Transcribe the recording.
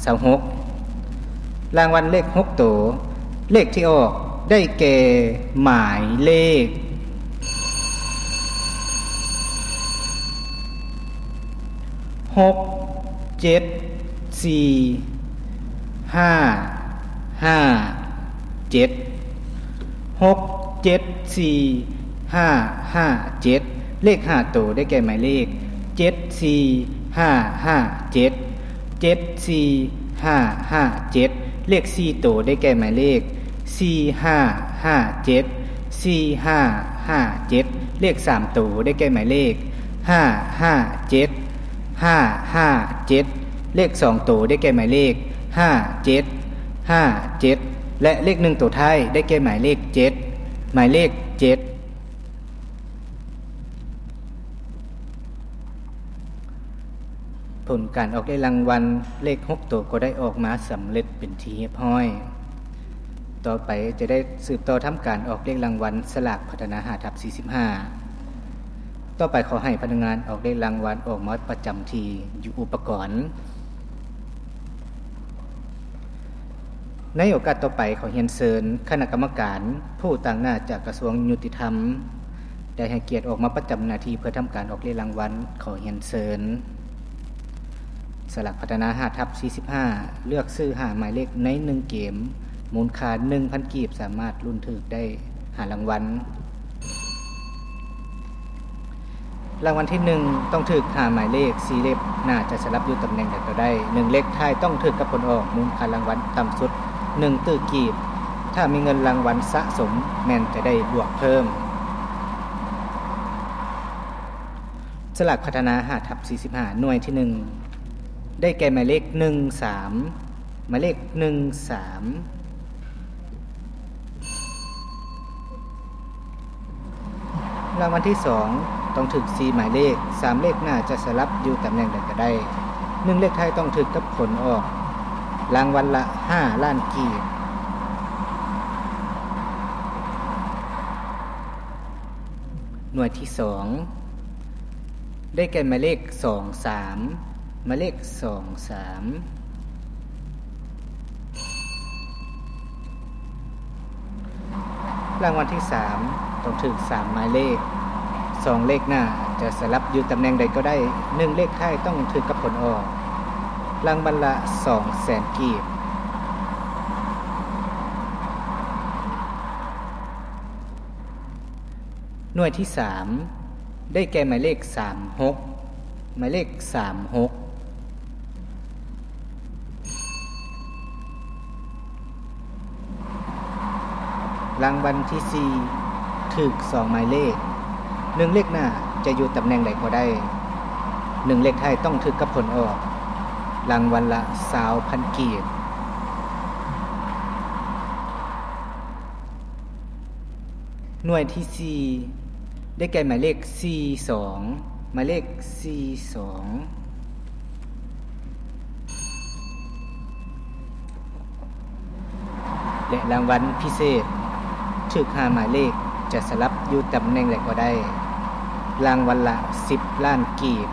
ຊາວຫົກ ລາງວັນເລກຫົກໂຕ ເລກທີ່ອອກໄດ້ແກ່ໝາຍເລກ ຫົກເຈັດສີ່ຫ້າຫ້າເຈັດ ຫົກເຈັດສີ່ຫ້າຫ້າເຈັດ ເລກຫ້າໂຕໄດ້ແກ່ໝາຍເລກ ເຈັດສີ່ຫ້າຫ້າເຈັດ ເຈັດສີ່ຫ້າຫ້າເຈັດ ເລກສີ່ໂຕໄດ້ແກ່ໝາຍເລກ ສີ່ຫ້າຫ້າເຈັດ ສີ່ຫ້າຫ້າເຈັດ ເລກສາມໂຕໄດ້ແກ່ໝາຍເລກ ຫ້າຫ້າເຈັດ ຫ້າຫ້າເຈັດ ເລກສອງໂຕໄດ້ແກ່ໝາຍເລກ ຫ້າເຈັດຫ້າເຈັດ ແລະ ເລກໜຶ່ງໂຕທ້າຍໄດ້ແກ່ໝາຍເລກເຈັດ ໝາຍເລກເຈັດ. ຜົນການອອກເລກລາງວັນເລກຫົກໂຕກໍໄດ້ອອກມາສຳເລັດເປັນທີ່ຮຽບຮ້ອຍ. ຕໍ່ໄປຈະໄດ້ສືບຕໍ່ທຳການອອກເລກລາງວັນສະຫຼາກພັດທະນາຫ້າທັບສີ່ສິບຫ້າ. ຕໍ່ໄປຂໍໃຫ້ພະນັກງານອອກເລກລາງວັນອອກມາປະຈຳທີ່ຢູ່ອຸປະກອນ. ໃນໂອກາດຕໍ່ໄປ ຂໍຮຽນເຊີນຄະນະກຳມະການຜູ້ຕາງໜ້າຈາກກະຊວງຍຸຕິທຳ ໄດ້ໃຫ້ກຽດອອກມາປະຈຳໜ້າທີ່ເພື່ອທຳການອອກເລກລາງວັນ. ຂໍຮຽນເຊີນ. ສະຫຼາກພັດທະນາຫ້າທັບສີ່ສິບຫ້າ ເລືອກຊື້ຫ້າໝາຍເລກໃນໜຶ່ງເກມ ມູນຄ່າໜຶ່ງພັນກີບ ສາມາດລຸ້ນຖືກໄດ້ຫ້າລາງວັນ. ລາງວັນທີໜຶ່ງ ຕ້ອງຖືກຫ້າໝາຍເລກ ສີ່ເລກໜ້າຈະສະຫຼັບຢູ່ຕຳແໜ່ງໃດກໍໄດ້ ໜຶ່ງເລກທ້າຍຕ້ອງຖືກກັບຜົນອອກ ມູນຄ່າລາງວັນຕ່ຳສຸດໜຶ່ງຕື້ກີບ ຖ້າມີເງິນລາງວັນສະສົມແມ່ນຈະໄດ້ບວກເພີ່ມ. ສະຫຼາກພັດທະນາຫ້າທັບສີ່ສິບຫ້າ ໜ່ວຍທີໜຶ່ງ ໄດ້ແກ່ໝາຍເລກໜຶ່ງສາມ ໝາຍເລກໜຶ່ງສາມ. ລາງວັນທີສອງ ຕ້ອງຖືກສີ່ໝາຍເລກ ສາມເລກໜ້າຈະສະຫຼັບຢູ່ຕຳແໜ່ງໃດກໍໄດ້ ໜຶ່ງເລກທ້າຍຕ້ອງຖືກກັບຜົນອອກ ລາງວັນລະຫ້າລ້ານກີບ. ໜ່ວຍທີສອງ ໄດ້ແກ່ໝາຍເລກສອງສາມ ໝາຍເລກສອງສາມ. ລາງວັນທີສາມ ຕ້ອງຖືກສາມໝາຍເລກ ສອງເລກໜ້າຈະສະຫຼັບຢູ່ຕຳແໜ່ງໃດກໍໄດ້ ໜຶ່ງເລກທ້າຍຕ້ອງຖືກກັບຜົນອອກ ລາງວັນລະສອງແສນກີບ. ໜ່ວຍທີສາມ ໄດ້ແກ່ໝາຍເລກສາມຫົກ ໝາຍເລກສາມຫົກ. ລາງວັນທີສີ່ ຖືກສອງໝາຍເລກ ໜຶ່ງເລກໜ້າຈະຢູ່ຕຳແໜ່ງໃດກໍໄດ້ ໜຶ່ງເລກທ້າຍຕ້ອງຖືກກັບຜົນອອກ ລາງວັນລະຊາວພັນກີບ. ໜ່ວຍທີສີ່ ໄດ້ແກ່ໝາຍເລກສີ່ສອງ ໝາຍເລກສີ່ສອງ. ແລະ ລາງວັນພິເສດ ຖືກຫ້າໝາຍເລກ ຈະສະຫຼັບຢູ່ຕຳແໜ່ງໃດກໍໄດ້ ລາງວັນລະສິບລ້ານກີບ.